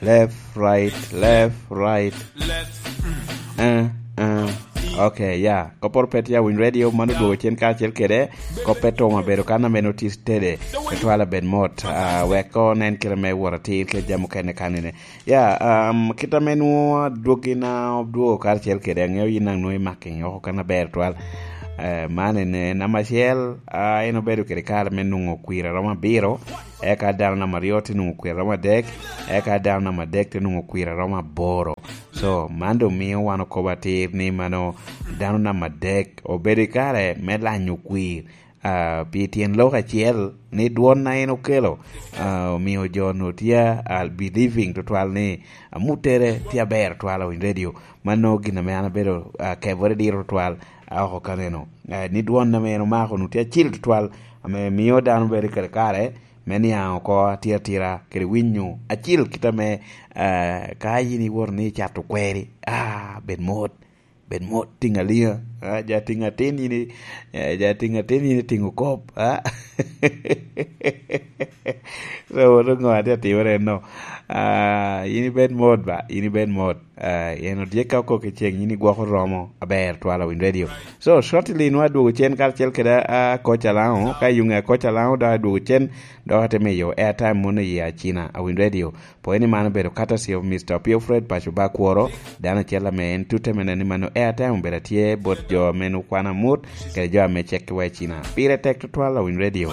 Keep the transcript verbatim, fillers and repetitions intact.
Left, right, left, right. Left. Uh, uh. Okay, yeah. Kopor pet ya Winy Radio, mano dwogo cen kacel kede. Kope tong abedo kan a meno tis tede. Etwala bed mot. Uh, wek ko nen kite me wot atir ke jam okene kanine. Ya, um, kita meno dwogi na dwogo kacel kede. Angeo yin nang nwe making oko kan aber twal. Uh, man ene nama cel, uh, en obedo kede kare me nungo kwira roma biro. Eka dano namba aryo te nwoŋo kwir romo adek, eka dano namba adek te nwoŋo kwir romo aboro. So man doŋ mio wan okobo atir ni mano dano namba adek obedo i kare me lanyo kwir, ah, pi tyen lok acel ni dwon na en okelo, ah, omio jo onwoŋo tye, ah, believing tutwal ni amuttere tye aber twala Winy Radio. Mano gin ame an abedo, ah, kebore diro tutwal, ah, oko kaneno, ah, ni dwon ame en omako onwoŋo tye acil tutwal, ame mio dano bedo i kare kare me niaŋ oko atira atira kede winyo acil kit ame, ah, ka yin iwoto ni icato kweri, ah, bed mot, bed mot, tiŋ aliŋa, ah, ja tiŋ atin yin i-, eh, ja tiŋ atin yin itiŋo kop, ah. So, woto ŋo ate atimere no? Ah, yin ibed mot ba, yin ibed mot. Ah, en odyekka oko ki ceŋ, yin igwoko romo aber twala Winy Radio. So, shortly nwa adwogo cen karacel kede, ah, Coach Alao, ka yuŋe a Coach Alao dok adwogo cen, dok ate miyo airtime mono i Acina a Winy Radio. Pwony ni man obedo courtesy of Mister Opio Fred Paco Bakworo, dano acel ame en tute me neno ni mano airtime obedo atye bot jo ame nwoŋo kwano amut, kede jo ame cekkiwa i Cina. Pire tek tutwal a Winy Radio.